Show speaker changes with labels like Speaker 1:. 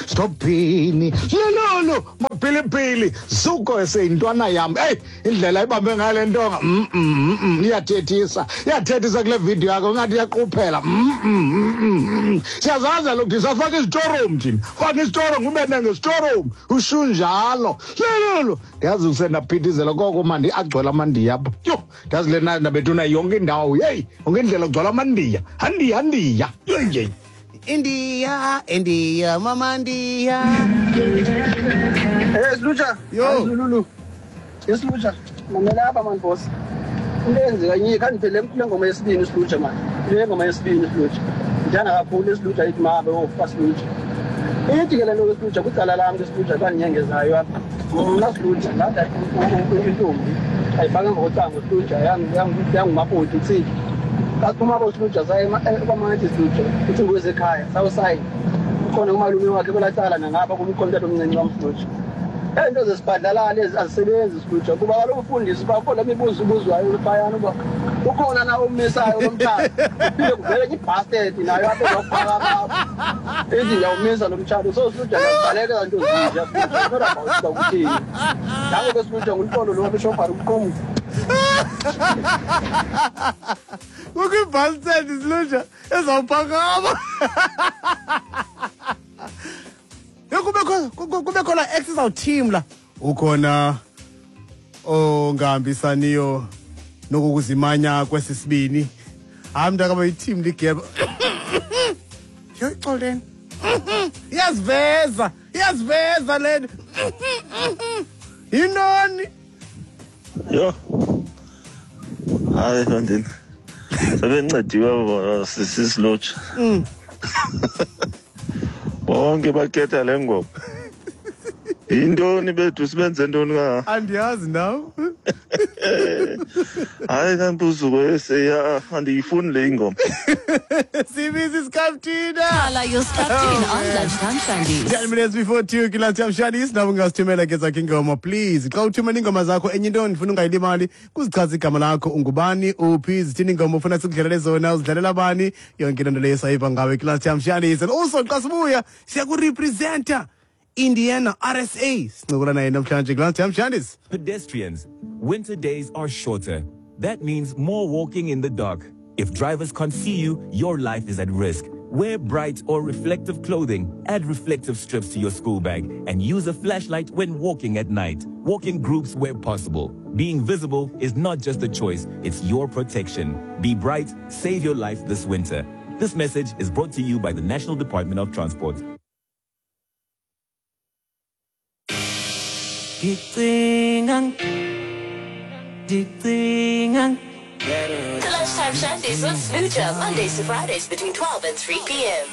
Speaker 1: Stopini lololo mapilipili zuko eseyintwana yam. Eyi, indlela ibambe ngale ntonga, iyathethisa, iyathethisa kule video yakho, ngathi iyaquphela. Siyazazi kaloku thina, safaka izitorum thina, faka isitorum ube nengesitorum, ushunjalo lololo. Ndiyazi usendaphithizela koko mandi agcwele amandiya apha. Yho, ndiyazi le nabethuna yonke indawo, yeyi, yonke indlela kugcwala amandiya, handiya, handiya, yeyi.
Speaker 2: India, India, mama India.
Speaker 3: Eh Silutsha.
Speaker 2: Yo.
Speaker 3: Zululu. Yes Silutsha. Mamela apha man boss. Into eyenzeka nye khandiphele kule ngoma yesibini Silutsha man. Le ngoma yesibini Silutsha. Ndithanda kakhulu Silutsha ithi mabe ofa Silutsha. Ithi ke le nto Silutsha kwicala lam ke Silutsha xa ndinyengezayo apha. Mna Silutsha ndada intombi ayifake ngokocango Silutsha yangumakoti utsiki. Xa siphuma apho Silutsha saye kwamantyi Silutsha ucingo wezekhaya sawusayina. Ukhona umalume wakhe kwelaa cala nangapha kumkhona utata omncinci wam Silutsha. Ezi nto zesibhadlalala ezi azisebenzi Silutsha kuba kaloku ufundisa uba kukho le mibuzo ibuzwayo phayana uba ukhona na umisayo lo mtshato. Kuphinde kuvele enye ibhastedi nayo apha ezawuphakama apha. Ithi ndiyawumisa lo mtshato. So Silutsha ndiyazibaleka ezaa nto zinje Silutsha. Not about uba kutheni. Nango ke Silutsha nguluxolo lo apha eshobhari umqumbu.
Speaker 2: Kukho ibhastedi Silutsha ezawuphakama. Yho, kubekho la ex izawuthimla. Ukhona ongahambisaniyo nokukuzimanya kwesi sibini. Hayi mntakaba ithimla igeba. Yho, ixoleni. Iyaziveza, iyaziveza le nto. Yintoni?
Speaker 4: Yho, hayi mfondini, sebencediwe sisilotsha. Bonke bakhetha le ngoma. Yintoni bethu, sibenze ntoni ka?
Speaker 2: Andiyazi nam.
Speaker 4: Hayi kampuzuko eseya, andiyifuni le ingoma.
Speaker 2: Sibiza isikaptina.
Speaker 5: Call your Skaptina on Lunchtime Shandies.
Speaker 2: 10 minutes before 2 kwi-Lunchtime Shandies. Nawe ungasithumela ke zakho ingoma, please. Xa uthumela ingoma zakho, enye into ndifuna ungayilimali kuzichaza igama lakho, ungubani, uphi, zithini ingoma ufuna sikudlalele zona, uzidlalela bani, yonke loo nto leyo sayiva ngawe kwi-Lunchtime Shandies. And also xa sibuya siya kurepresenta Indiana RSA, sincokola naye namhlanje kwi-Lunchtime Shandies.
Speaker 6: Pedestrians, winter days are shorter. That means more walking in the dark. If drivers can't see you, your life is at risk. Wear bright or reflective clothing, add reflective strips to your school bag, and use a flashlight when walking at night. Walk in groups where possible. Being visible is not just a choice, it's your protection. Be bright, save your life this winter. This message is brought to you by the National Department of Transport.
Speaker 5: The Lunchtime Shandies with Smoocha, Mondays to Fridays between 12 and 3 p.m.